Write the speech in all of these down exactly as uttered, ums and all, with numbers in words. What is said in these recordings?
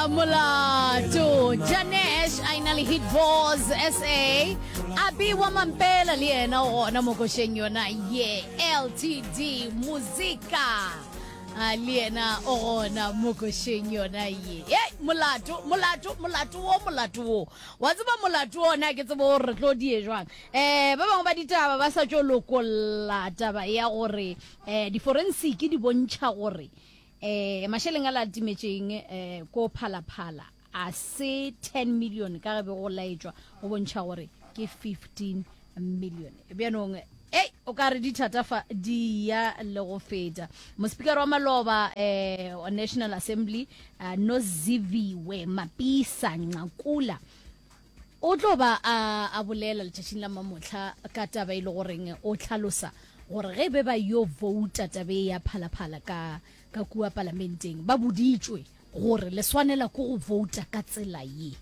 Molato Janesh a ina le Hit Boss S A Abi wa Mampela le yena o gona mo košeng yona ye. L T D Muzika a le yena o gona mo košeng yona ye. Ye molato, molato, molato wo, molato wo wa tseba, molato ona ke tsebo gore re tlo die jwang. um ba bangwe ba ditaba ba sa tšo lokolla taba ya gore um di-forensic di bontšha gore eh mašeleng a la timetšeng eh ko Phalaphala a se ten million ka ge be go laetšwa, go bontšha gore ke fifteen million. Bjanong ei, o ka re dithata fa di ya le go feta. Mospikara wa maloba eh wa National Assembly, uh, Nosiviwe Mapisa Nqakula, o tlo ba a, a bolela letšatšing la mamotlha ka taba e le goreng o tlhalosa gore ge be ba yo vouta tabe ya Phalaphala ka ka kua palamenteng, ba boditšwe gore le swanela ke go vouta ka tsela ye.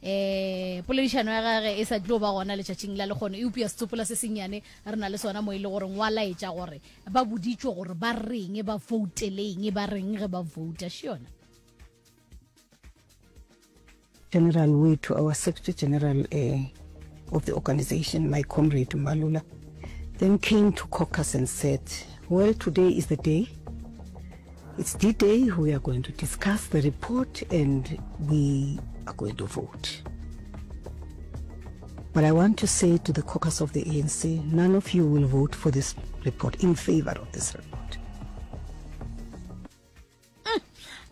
eh poledišano ya gage e sa tlo ba gona letšatšing la lekgono, eupša setsopola se sennyane re na le sona mo e le gore ngwa laetša gore ba boditšwe gore ba reng, ba vouteleng, ba reng ge ba vouta še yona. General wethu, our Secretary General uh, of the organization, my comrade Mbalula, then came to caucus and said, "Well, today is the day. It's the day we are going to discuss the report and we are going to vote. But I want to say to the caucus of the A N C, none of you will vote for this report, in favor of this report."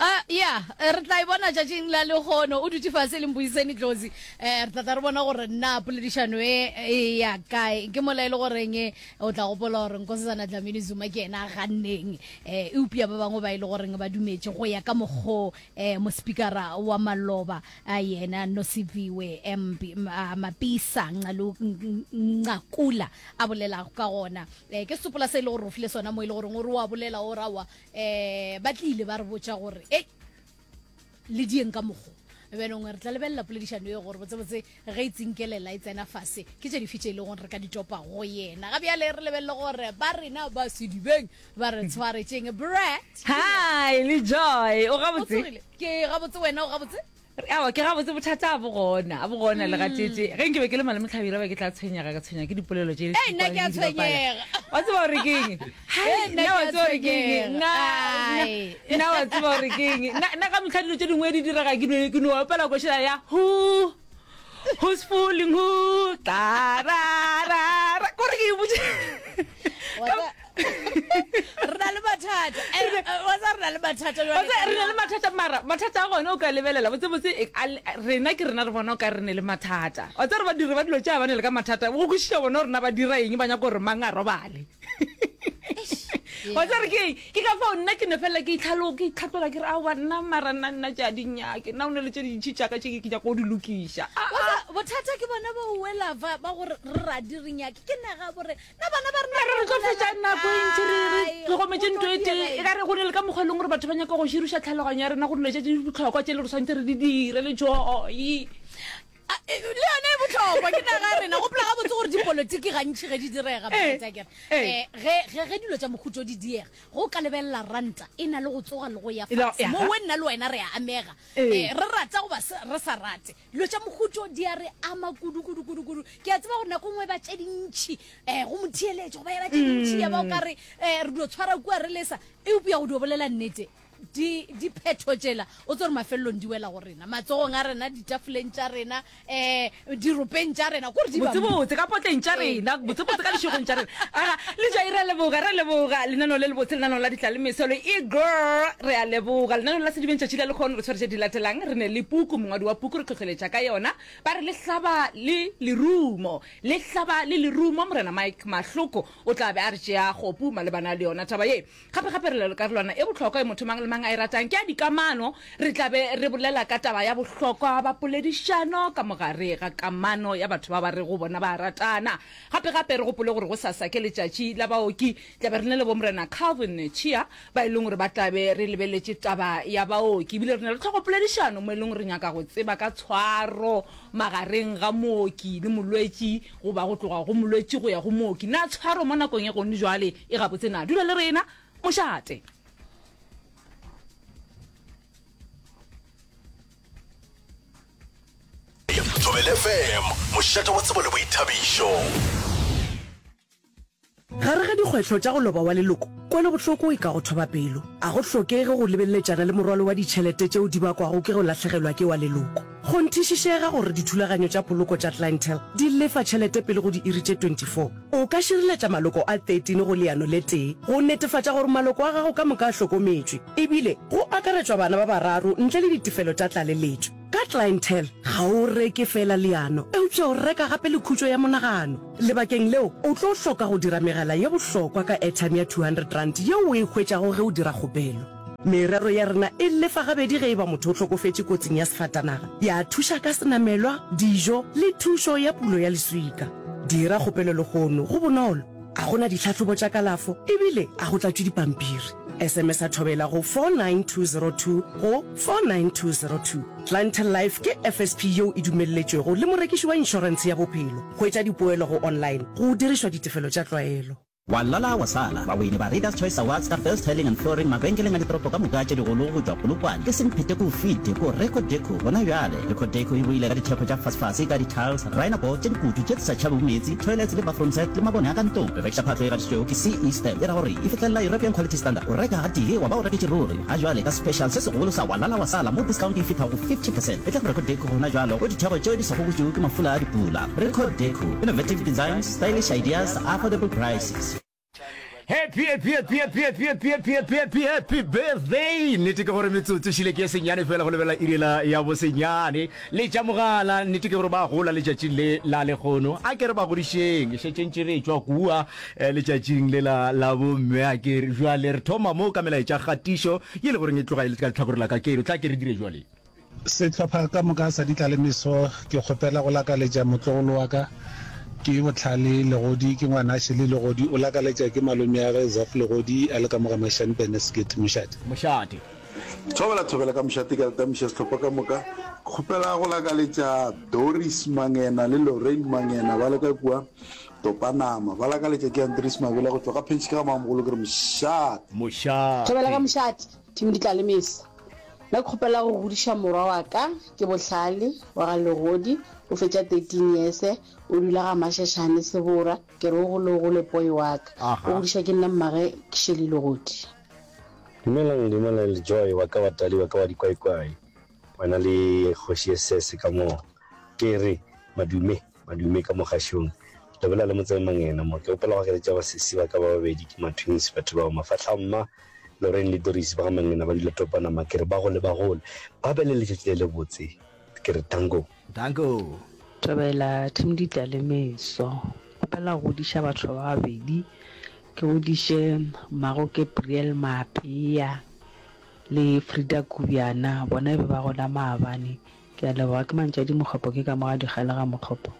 Uh, ya re tla e bona tšatšing la lekgono. O dutše fase le Mbuiseni Tlosi, um re tla tla re bona gore nna poledišano e e ya kae. Ke mola e le goreng o tla gopola gore Nkosazana Dlamini Zuma ke ena a ganneng, um eupša ba bangwe ba e le goreng ba dumetše go ya ka mokgo um mospikara wa maloba a yena Nosiviwe mp Mapisa Nqakula a bolelago ka gona. um ke sepola se e le gore o file sona mo e le goreng o re wa bolela o rawa um ba tlile ba re botša gore ei, le dieng ka mokgo. Bjanong re tla lebelela poledišano e gore botsebotse ge e tsinkelela e tsena fase ke tše dife tše e le gore re ka di topa go yena. Ga bjale re lebelele gore ba rena ba sedibeng ba re tshwaretšeng. Brat. Hi le Joy, o o gabotse? Tsogile ke gabotse, wena o gabotse? Awa, ke gabotse, bothata a bo gona, a bo gona le gatete. Ge nke be ke le malome Tlhabira, ba ke tla tshwenyega, ka tshwenya ke dipolelo tše. Ei, nna ke a tshwenyega. Wa tseba gore ke eng? Ee, nna Nna ke wa a tseba gore ke eng? tshwenyega. Nna- Ai. Nna wa tseba gore ke eng? Nna nna ka metlha dilo tše dingwe di direga, ke no- ke no opela košela ya who who's fooling who, ta ra ra ra, kore ke e botse. Wa tsa- re na le mathata. Eh, eh, wa tsa re na le mathata jwale Wa tseba, ka re na le naga. Mathata, mara mathata a gona o ka lebelela botsebotse e, a le- rena ke rena re bona o ka re ne le mathata. Wa tseba re badiri ba dilo tše a ba ne le ka mathata go kwešiša bona gore na ba dira eng, ba nyaka gore mang a robale. Wa tseba re ke eng? Ke ka fao nna ke ne felela ke itlhalo ke itlhatlola, ke re aowa nna mara nna nna tše a di nyake, nna o ne le tše dintšhi tšaka tše ke nyaka go di lokiša. Ah, Wa ah. tsa- bothata ke bona bo wela ba ba gore re radi re nyake ke naga bore na bana ba rena Mara re tlo fetša nako e ntši re re tlhokometse Go ntho tlo e tee. diega E ka re go ne le ka mokgwa e leng gore batho ba nyaka go široša tlhaloganyo ya rena go dilo tše tše di bohlokwa tše le re tshwanetse re di dire le Joy. Ah, eh, le yone e botlhokwa ke naga ya rena. Gopola gabotse gore dipolotiki gantši ge di direga, Eh, Barata, eh. um ge ge- ge dilo tša mokhuto di diega, go ka lebelela ranta e na le go tsoga le go ya E la- fase ya. mo we nna le wena re a amega. Eh. um re rata goba se- re sa rate, dilo tša mokhuto di a re ama kudu kudu kudu kudu. Ke a tseba gore nako nngwe ba tše dintšhi um go motheeletše goba ya ba tše dintšhi ya ba o ka re um re dio tshwara kua re lesa, eupša go dio bolela nnete, di diphetho tšela o tse gore mafelelong di wela go rena matsogong a rena, ditafoleng tša rena, um diropeng tša rena, kore di ba Botsebotse ka potleng tša rena, botsebotse ka dišegong tša rena. Aga le Joy, re a leboga, re a leboga lenaneo le lebotse, lenaneo la ditla le mesolo e girl, re a leboga lenaneo la Sedibeng. Tšatši la lekgono re tshwere tše di latelang. Re ne le puku, mongwadi wa puku re tlhotlheletša ka yona, ba re Le Hlaba le Lerumo, Le Hlaba le Lerumo. Morena Mike Mahloko o tla be a re tšea kgopu malebana le yona taba ye. Gape-gape re le karolwana e bohlokwa e motho mang le mang a e ratang, ke ya dikamano. Re tla be re bolela ka taba ya bohlokwa ba poledišano ka mogare ga kamano ya batho ba ba rego bona ba a ratana. Gape-gape re gopole gore gosasa ke letšatši la baoki. Tla be re na le bo Morena Calvin Chia ba e leng gore ba tla be re lebeletše taba ya baoki. Ebile re na le tlhogopoledišano mo e leng gore re nyaka go tseba ka tshwaro magareng ga mooki le molwetši goba go tloga go molwetši go ya go mooki. Na tshwaro mo nakong ya gone jwale e gabotse na? Dula le rena, mošate. Thobela F M, mošate wa tsebo le boithabišo. Gare ga dikgwetlho tša go loba wa leloko, kwelobohloko e ka go thoba pelo. A go hlokege go lebeleletšana le morwalo wa ditšhelete tšeo di bakwago ke go lahlegelwa ke wa leloko. Kgonthišišega gore dithulaganyo tša poloko tša Clientele di lefa tšhelete pele go diiri tše twenty four. O ka šireletša maloko a thirteen go leano le tee go netefatša gore maloko a gago ka moka a hlokometšwe, ebile go akaretšwa bana ba bararo ntle le ditefelo tša tlaleletšo. Ka Clientele, ga o reke feela leano, eupša o reka gape le khutšo ya monagano. Lebakeng leo, o tlo hloka go dira megala ye bohlokwa ka airtime ya two hundred rand yeo o e hwetšago ge o dira kgopelo. Merero ya rena e lefa gabedi ge e ba motho o hlokofetše kotsing ya sefatanaga, ya thuša ka senamelwa, dijo le thušo ya pulo ya leswika. Dira kgopelo lehono, go bonolo, a go na ditlhahlobo tša kalafo ebile a go tlatšwe dipampiri. S M S a Thobela go four nine two zero two go four nine two zero two. Clientele Life ke F S P yeo e dumelletšwego le morekiši wa inšorentshe ya bophelo. Hwetša dipoelo go online go dirišwa ditefelo tša tlwaelo. Wa lala wa sala, bawini ba Readers Choice Awards ka Best Tiling and Flooring mabenkeleng a ditoropo ka moka tše digolo go tšwa Polokwane ke semphete ko fite ko Reco Deco gona bjale. Reco Deco e boile ka ditheko tša fasefase ka di-tiles, rhino-board tše dikutu tše di sa tšhabego meetse, toilets le bathroom set le mabone a ka ntlong. Re rekiša phahlo e gatišitšwego ke C E Stamp e ra gore e fihlelela European Quality Standard. O reka gatee wa ba o reketše ruri. Ga jwale ka special se segolo sa Wa lala wa sala mo discount e fihlago go fifty percent. E tla go Reco Deco gona jwalo go ditheko tšeo di sa gobotšwego ke mafula a dipula. Reco Deco, innovative designs, stylish ideas, affordable prices. Happy, happy, happy, happy, happy, happy, happy, happy, happy, happy birthday. Nnete ke gore metsotso šile ke e senyane fela go lebelela iri la ya bosenyane. Letša mogala, nnete ke gore ba gola letšatšing le la lekgono. A ke re ba godišeng, šetše ntše re etšwa kua eh, letšatšing le la la bomme. A ke re jwale re thoma mo ka melaetša kgatišo ye le goreng e tloga e le ka letlhakore la ka keno. Tla ke re dire jwale. Sehlopha ka moka sa Ditlalemeso, ke kgopela go lakaletša motlogolo wa ka ke Bohlale Legodi, ke ngwana Shirley Legodi, o lakaletša ke malomeagwe Zaf Legodi a le ka mo ga Mashane Beneskit. Mošate. Mošate. Thobela thobela ka mošate ke a le tamiša sehlopha ka moka. Ke kgopela go lakaletša Doris Mangena le Lorraine Mangena ba le ka kua Topanama. Ba lakaletša ke Andries Mabela go tšwa ga Phentšhi ka ga Mamogolo ke re mošate. Thobela ka Mošate. mošate, team Ditlalemeso. Nna ke kgopela go godiša morwa wa ka ke Bohlale wa ga Legodi o fetša thirteen years o dula ga Mashashane Sebora ke re o gole o gole poi wa ka o Aha. godiša ke nna mmage Shirley Legodi. Dumelang dumelang le Joy wa ka wa Tali wa ka wa dikwaikwai wena le kgoši ye sese ka mo ke re madume madume ka mo gašong le bolela le Motseng Mangena mo ke opela go akeletša basesi ba ka ba babedi ke ma twins batho bao mafahla mma Lorraine le Doris ba ga Mangena ba dula Topanama ke re ba gole ba gole ba be le letšatši le lebotse ke re danko. Danko. Thobela team Ditlalemeso. Kgopela go godiša batho ba babedi. Ke godiše mmago Gabriel Maapea le Frida Kubyana, bona e be ba gola maabane. Ke a leboga. Ke Mantšadi Mokgopo ke ka mo ga Dikgale ga Mokgopo.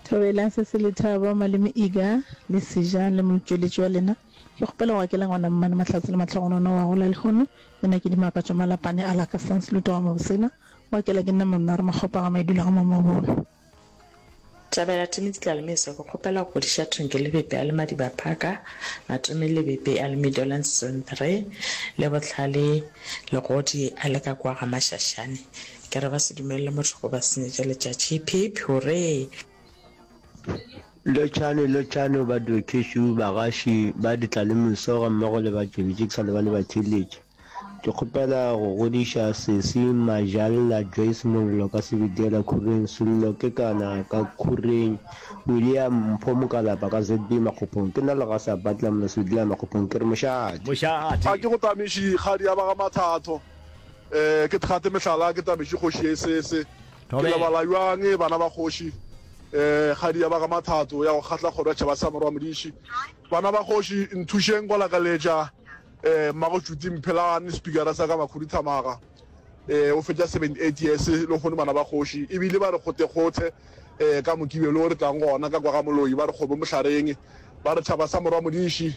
Thobela se se lethabo malome Iga le Seja le motšweletši wa lena. Ke kgopela go akela ngwana mmane Mahlatse le Mahlogonono wa gola lehono. Le nna ke Dimakatšo Malapane a la ka Sans Luto ga Mabosena. O akela ke nna Mamnare Makgopa ga Maidula ga Mamabolo. Thabela Timothy Tlalemeso, ke kgopela go godiša Thonke Lebepe a le Madiba Parker, Matome Lebepe a le Meadowlands Zone three, le Bohlale Legodi a le ka kua ga Mashashane. Ke re ba se dumelele motho go ba senyetša letšatši. Hip hip hurray! Lotšhane lotšhane badokešu, bagaši ba ditlalemeso gammogo le batšweletši ke sa lebale batheeletši. Ke kgopela go godiša sesi Majalla Joyce Mollo ka Sebediela Khureng, Sello Kekana ka Khureng, William Mpho Mokalapa ka Z B Makgophong. Ke nna Legasa Butler mona Sebediela Makgophong ke re mošate. Mošate. A ke go tamiši kgadi ya ba ga Mathatho, eh, ke thate mehlala ke tamiši kgoši ye sese. Ke Thobela. lebala bjang bana ba kgoši, eh, kgadi ya ba ga Mathatho ya go kgahla kgoro ya tšhaba sa morwa Modiši. Bana ba kgoši nthušeng go lakaletša eh, mmago Tšuti Mphelane, spikara sa ka Makhuduthamaga, eh, o fetša seventy eight years lehono bana ba kgoši, ebile ba re kgotekgothe eh, ka Mokibelo re tlang gona ka kwa ga Moloi, ba re kgomo mohlareng, ba re tšhaba sa morwa Modiši,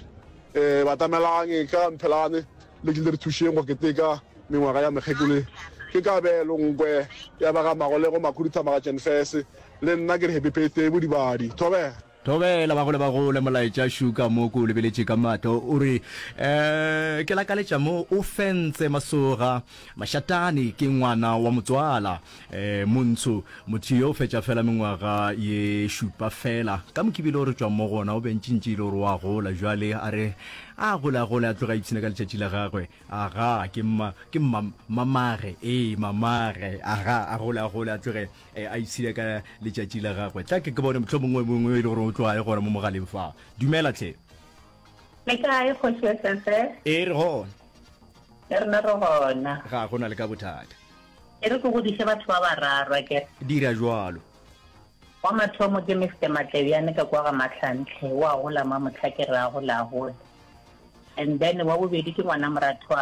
eh, batamelang ka Mphelane le tle le re thušeng go keteka mengwaga ya mekgekolo. Ke kabelo nkwe ya ba ga Magolego Makhuduthamaga Jenfese, le nna ke re happy birthday bodibadi. Thobela. Thobela bagole bagole molaetša šuka mo ko o lebeletše ka mahlo o re eh ke lakaletša mo o fentse masoga mašatane ke ngwana wa motswala eh montsho motho yo o fetša fela mengwaga ye šupa fela ka mokibelo o re tšwang mo gona o bentšintši e le gore wa gola jwale a re a gole a gole a tloga a ipshina ka letšatši la gagwe aga ke mma ke mma mamage ee mamage aga a gole a gole a tloge eh, a ipshina ka letšatši la gagwe. Tla ke ke bone mohlomongwe mongwe e le gore o tloga e gona mo mogaleng fa. Dumela tlhe. Le kae kgoši ya S F? Ee, re gona. Le rena re gona. Ga go na le ka bothata. E re ke godiše batho ba bararo akere. Dira jwalo. Wa mathomo ke Mister Matlebjane ka kwa ga Mahlantle, o a gola mamohla ke re a gole a gole. And then wa bobedi ke ngwana moratho wa